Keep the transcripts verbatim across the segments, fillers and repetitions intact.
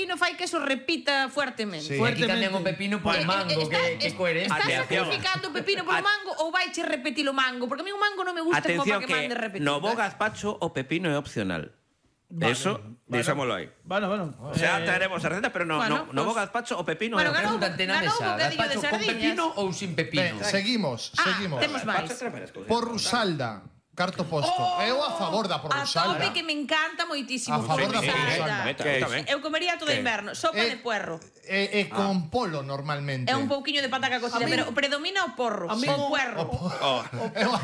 pepino fai que eso repita fuertemente. Sí, aquí cambian o pepino por Eh, eh, mango, está- que, que es- coherencia. Estás Atención. sacrificando o pepino polo mango ou vaiche repetir o mango? Porque a mí o mango non me gusta como Atención para que que mande repetir. no bo gazpacho o pepino é opcional. Eso, deixámoslo aí. Bueno, bueno. Xa eh, traeremos a receta, pero no, bueno, no, no bo pues- gazpacho o pepino Bueno, é ganou- opcional. Pregúntate na ganou mesa, un bocadillo de gazpacho con sardiñas. pepino ou sin pepino? Ben, seguimos, Ah, seguimos. temos máis. Porrusalda, carto posto. Eu a favor da A porrusalda. tope que me encanta moitísimo. A favor da porrusalda. porrusalda. Que tamén. Eu comería todo Que- inverno. Sopa Eh, de puerro. E, e con polo normalmente. É un pouquiño de pataca cocida, A mí- pero predomina o porro. A mí- O puerro. Oh, Eu a,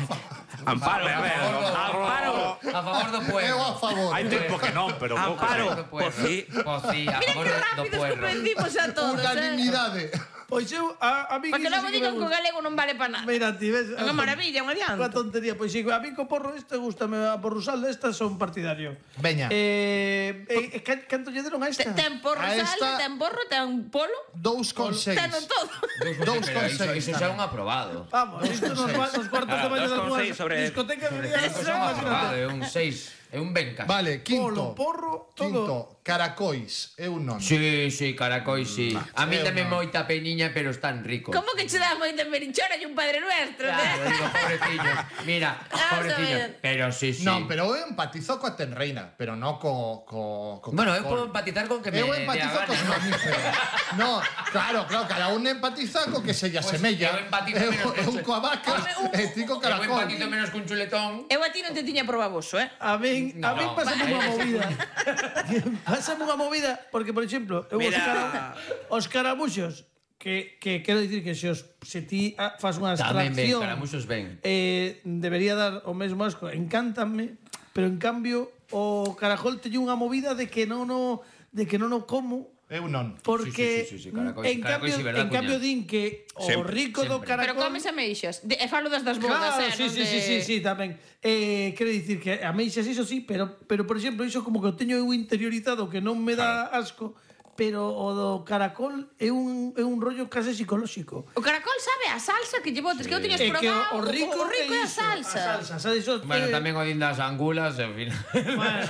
Amparo, a ver, Amparo. A favor do eu a puerro. favor. Hai tempo que non, pero pouco. Amparo, Do puerro. pois sí. Pois sí, a Mira favor que do rápidos puerro. comprendimos a todos, eh? Unanimidade. Pois eu, a, a mí Para que iso logo sí que me digan que o gusta. galego non vale para nada. Mira, ti ves... Unha maravilla, un adianto. Unha tontería. Pois sí, a mí co porro este gustame a porrusalda, estas son partidario. Veña. Eh, eh, eh, can- canto lle deron a Te- esta? Ten porro A salda, esta- ten porro, ten polo, Dous con seis. ten todo. Dous Pero con iso, seis. iso xa é un aprobado. Vamos, isto nos, va- nos cuartos de Ah, baño dos da con túa seis sobre- discoteca Iso vería xa é un aprobado, é un seis. É un bencas. Vale, Polo, quinto. porro, todo. Quinto, caracois. Eu non. Sí, sí, caracoi, sí. A mí eu tamén non. moita peniña, pero están ricos. Como que che dá moita merinchona e un padre nuestro, Claro, né? digo, pobrecillos. Mira, Ah, pobrecillos. está ben. Pero sí, sí. Non, pero eu empatizo coa tenreina, pero non co... co, co Bueno, eu caracol. podo empatizar con que me Eu dé a empatizo gana. cos mamíferos. No, claro, claro, cada un empatiza co que se lle Pois asemella. eu empatizo Eu, menos eu con- coa vaca Home, un- e ti co Eu caracol. empatizo menos cun chuletón. Eu a ti non te tiña probaboso, eh? A min, a No, min pásame aí unha sí. movida. Pásame unha movida, porque, por exemplo, eu os, Mira. cara, os caramuxos, que, que quero dicir que se, os, se ti ah, fas unha Tamén ben, abstracción, caramuxos ben. eh, debería dar o mesmo asco. Encántame, pero en cambio o carajol teño unha movida de que non o, de que non o como. Eu non. Porque Sí, sí, sí, sí, caracol- en caracol cambio, sí, verdad, en cambio cuña? din que o Sempre, rico do sempre. caracol... Pero comes ameixas. De, e falo das das bodas, Claro, eh? sí, non sí, de... sí, sí, sí, tamén. Eh, quero dicir que ameixas iso sí, pero, pero por exemplo, iso como que o teño eu interiorizado que non me dá asco, pero o do caracol é un, é un rollo case psicolóxico. O caracol sabe a salsa que lle botes, que eu tiñas É que probado. o, o rico, o rico é a iso, salsa. A salsa, sabes iso? Bueno, eh, tamén o din das angulas, en fin. Bueno,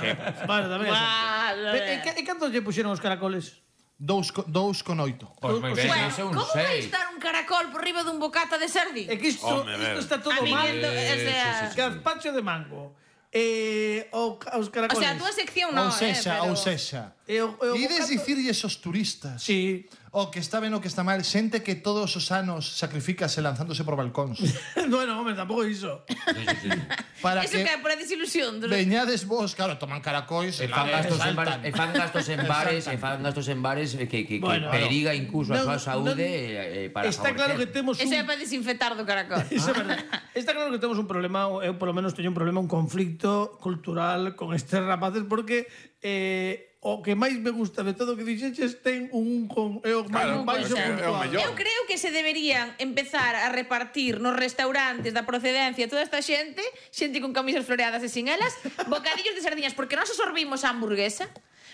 bueno, tamén. Vale. E, e, e cantos lle puxeron os caracoles? Dous, co- dous con oito. Pois moi ben, Bueno, ese é un como vai seis. estar un caracol por riba dun bocata de sardín? É que isto, Home, isto ben. está todo A mí mal. ento- o sea, Gazpacho de mango. Eh, o, os o caracoles. sea, a túa sección non, Ou sexa, eh, pero... ou sexa. E o, e o Ides bocata- dicirlles aos turistas Sí. o que está ben o que está mal, xente que todos os anos sacrificase lanzándose por balcóns Bueno, hombre, tampouco iso. para Eso que que é por a desilusión. dos- veñades vos, claro, toman caracois E fan gastos en bares, e fan gastos en bares, e Saltan. fan gastos en bares que, que, que Bueno, periga incluso a non- súa saúde non- eh, para Está claro que favorecer. temos Eso é un... para desinfectar do caracol. Iso é verdade. Está claro que temos un problema, ou eu polo menos teño un problema, un conflicto cultural con estes rapaces, porque eh, o que máis me gusta de todo o que dixeches ten un con é o máis Claro, baixo é o puntual. mellor. Eu creo que se deberían empezar a repartir nos restaurantes da procedencia toda esta xente, xente con camisas floreadas e sin elas, bocadillos de sardiñas, porque nós absorbimos a hamburguesa,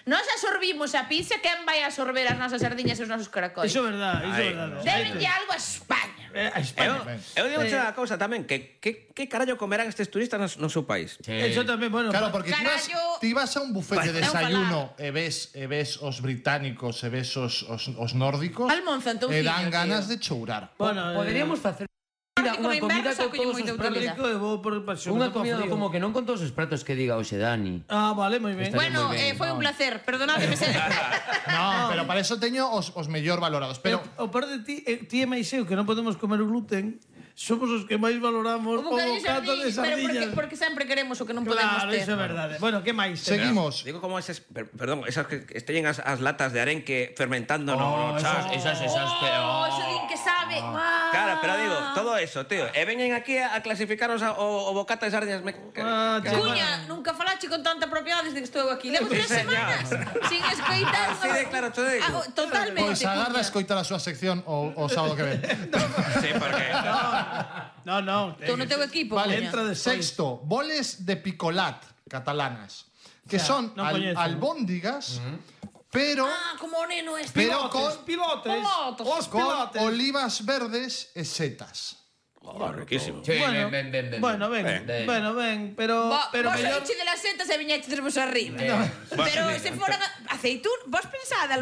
nós absorbimos a pizza, quen vai absorber as nosas sardiñas e os nosos caracoles? Iso é verdade, iso é Ai, verdade. Debenlle algo a España. Eh, a Eu, España. eu digo unha cousa tamén, que que, que carallo comerán estes turistas no, no seu país? Sí. Eso tamén, bueno. Claro, porque ti vas, Carallo. ti vas a un buffet de Bueno, desayuno e ves, e ves os británicos e ves os, os, os nórdicos Almonza, e dan entouciño, ganas tío. de chourar. Bueno, Poderíamos facer Porque como unha comida inverno con saco todos moita os pratos. utilidade. Rico, eu vou por pasión. Unha comida como que non con todos os pratos que diga hoxe Dani. Ah, vale, moi ben. Estaría Bueno, moi ben, eh, foi un no. placer. Perdonadme se... No, pero para eso teño os, os mellor valorados. Pero Pero o peor de ti, eh, ti e máis eu que non podemos comer gluten, somos os que máis valoramos o Un bocadillo de bocado de sardiñas, pero porque, sardiñas. porque sempre queremos o que non podemos Claro, ter. iso é verdade. Bueno, que máis? seguimos. Digo como esas, per- perdón, esas que que esteñen as, as latas de arenque fermentando no, no esas, chas. esas, esas, pero... Oh, eso din que sabe. Ah. Claro, pero digo, todo eso, tío. E veñen aquí a, a clasificaros a, o, o bocata de sardinas. Me, Ah, che, Cuña, nunca falache con tanta propiedade desde que estou aquí. Levo tres Sí, señor. semanas sin escoitar. Así de claro, te digo. Ah, oh, totalmente. Pois agarda a Cuña. escoitar a súa sección o, o sábado que ven. Sí, porque... No, no. Tú no teu equipo, Vale, Cuña. entra despois. sexto, boles de picolat catalanas, que O sea, son non al- coñezo. albóndigas, pero Ah, como o neno este. pero con, pilotes, Pilotes. os con pilotes. olivas verdes e setas. Oh, riquísimo. Sí, Bueno, ben, ben, ben, ben. bueno, ben, Ben. bueno, ben, pero Bo, pero vos mellor saíche de las setas e viñeches vos arriba. Eh, Pero se foran a- aceitún, vos pensade,